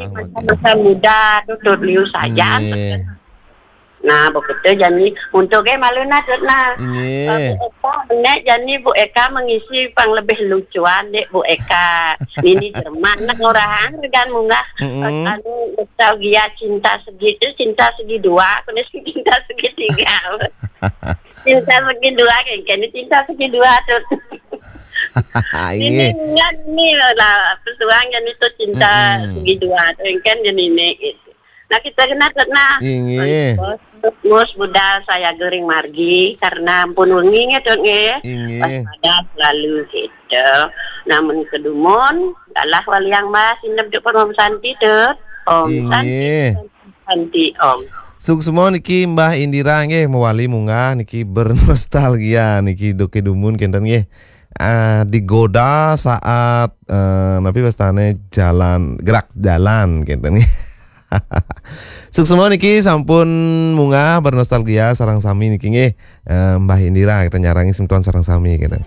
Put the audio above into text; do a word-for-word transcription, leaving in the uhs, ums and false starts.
Masa-masa muda tu Tut liu sajan. Nggih. Nah, begitu jani untuk ke malu nah Tut nah. Nggih. Eka menek jani Bu Eka mengisi pang lebih lucuan dek Bu Eka. Nini Jerman nak ngorahang regan munggah. Mm-mm. Anu nostalgia cinta segi tu, cinta segi dua, kena cinta segi tiga. Cinta segi dua kan, kan cinta segi dua tu. Ini ingat ni lah pesuang yang itu cinta segi dua tu kan yang ini gitu. Nah kita kena kena. Inggih. Mus budal saya gering margi karena ampun wengi nge Tut nge. Inggih. Waspada selalu gitu. Namun kedumun, alah waliang mas inep duk Om Santi Tut. Om Santi. Inggih. Santi Om. Suksma niki Mbah Indira nggih mewali munggah niki bernostalgia niki duke dumun kenten nggih. Ah, digoda saat eh, napi wastane jalan gerak jalan kenten nggih. Suksma niki sampun munggah bernostalgia sareng sami niki nggih. Eh, Mbah Indira kita nyarangi semeton sareng sami kenten.